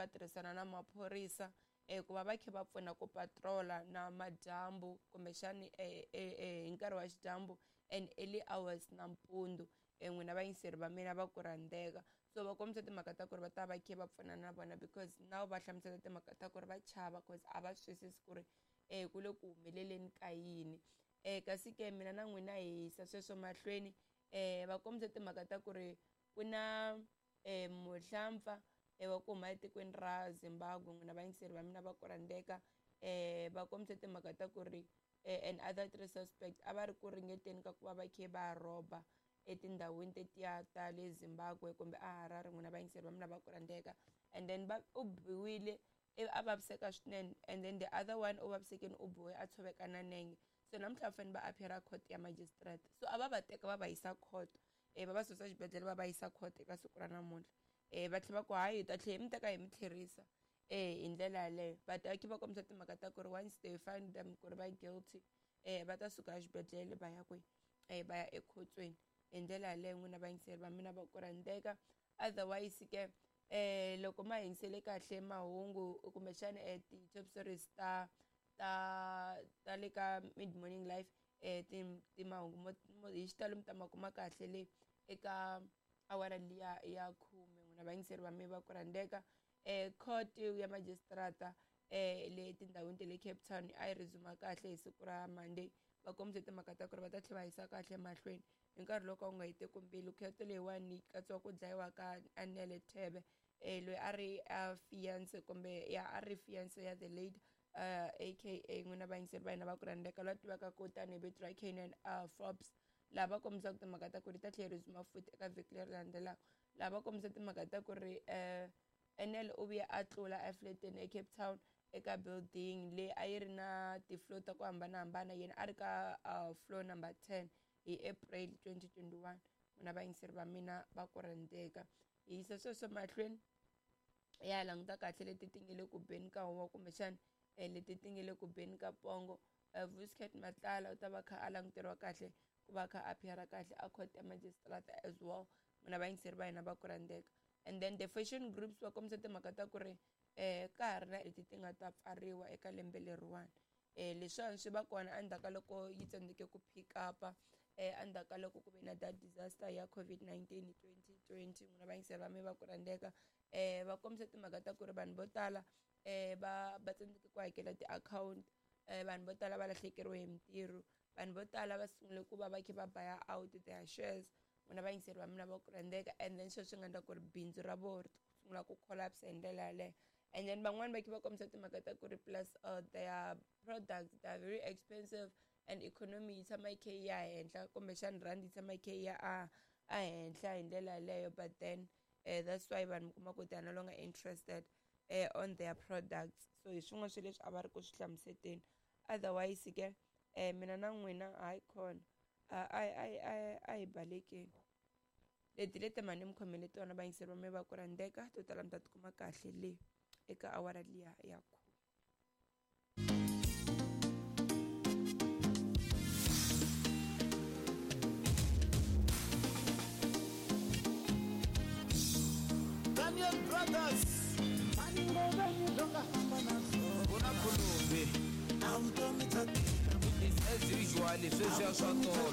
va tirhisana na maphorisa ku va va kha va pfuna ku patrola na madyambu kumbexani hi nkarhi wa xidyambu and early hours nampundzu n'wina vayingiseri va mina va ku rhandzeka. So va kombisa timhaka ta ku ri va ta va kha va pfuna na vona because now va hlamusela timhaka ta ku ri va chava cause a va swi twisisi ku ri ku le ku humeleleni ka yini. Kasi ke mina na n'wina hi yisa sweswo mahlweni va kombisa timhaka ta ku ri ku na muhlampfa wa ku huma etikweni ra Zimbabwe n'wina vayingiseri va mina va ku rhandzeka va kombisa timhaka ta ku ri and other 3 suspect a va ri ku ringeteni ka ku va va kha va rhoba etindhawini tetiya ta le Zimbabwe kumbe a Harare n'wina vayingiseri va mina va ku rhandzeka. And then va u biwile a vaviseka swinene and then the other one u vavisekile u biwe a tshoveka na nenge. So namuntlha va fanele va appear court ya magistrate. So a va va teka va va yisa court va va susa xibedhlele va va yisa court eka siku ra namuntlha. Va tlhela va ku hayi hi ta tlhela hi mi teka hi mi tlherisa hi ndlela yaleyo. But a va kombisa timhaka ta ku ri once they find them ku ri va guilty va ta suka exibedhlele va ya kwihi va ya ekhotsweni hi ndlela yaleyo n'wina vayingiseri va mina va ku rhandzeka. Otherwise ke loko ma yingisele kahle mahungu kumbexana ti-top stories ta ta ta le ka Mid Morning Live ti mahungu hi xitalo mi ta ma kuma kahle le eka awara liya ya 10 n'wina vayingiseri va mina va ku rhandzeka. Court ya magistrata le tindhawini ta le Cape Town a yi resume kahle hi siku ra Monday. Va kombise timhaka ta ku ri va ta tlhela va yisa kahle mahlweni hi nkarhi loko wu nga heteki mbilu. Court leyiwani yi katsiwa ku dlayiwa ka Anele Thebe loyi a ri fiance kumbe ya a ri fiance ya the late aka n'wina vayingiseri va hina va ku rhandzeka loyi a tivaka ku tanihi vito ra Kiernan Forbes. Laha va kombisaka timhaka ta ku ri ta tlhela resume futhi eka vhiki leri landzelaka. Laha va kombisa timhaka ta ku ri Anele u vuye a tlula efleteni eCape Town eka building leyi a yi ri na ti-floor ta ku hambanahambana yena a ri ka floor number 10 hi April 2021. N'wina vayingiseri va mina va ku rhandzeka. Hi yisa sweswo mahlweni ya languta kahle leti ti nge le ku beni ka huwa kumbexana leti ti nge le ku beni ka pongo. Vuscat Matlala u ta va kha a languteriwa kahle ku va kha a appear kahle a court ya magistrate as well. N'wina vayingiseri va hina va ku rhandzeka. And then the fashion groups va kombisa timhaka ta ku ri ka ha ri na leti ti nga ta pfariwa eka lembe leriwani. Leswiwani swi va kona endzhaku ka loko yi tsandzeke ku pick up endzhaku ka loko ku ve na that disaster ya COVID-19 hi 2020. N'wina vayingiseri va mina va ku rhandzeka. Va kombisa timhaka ta ku ri vanhu vo tala va tsandzeke ku hakela ti-account vanhu vo tala va lahlekeriwe hi mintirho vanhu vo tala va sungule ku va va kha va buy out their shares. N'wina vayingiseri va mina va ku rhandzeka. And then sweswi nga endla ku ri bindzu ra vona ri sungula ku collapse hi ndlela yaleyo. And then van'wani va kha va kombisa timhaka ta ku ri plus their products they are very expensive and economy yi tshama yi kha yi ya henhla kumbexana rand yi tshama yi kha yi ya a henhla hi ndlela yaleyo. But then that's why vanhu mi kuma ku they are no longer interested on their products. So hi swin'wana swa leswi a va ri ku swi hlamuseteni. Otherwise ke mina na n'wina hayi khona a hi balekeni. Leti leti mani mi khomele tona vayingiseri va mina va ku rhandzeka to tala mi ta tikuma kahle le eka awara liya ya 10. Daniel Brothers As usual, sweswiya swa tolo.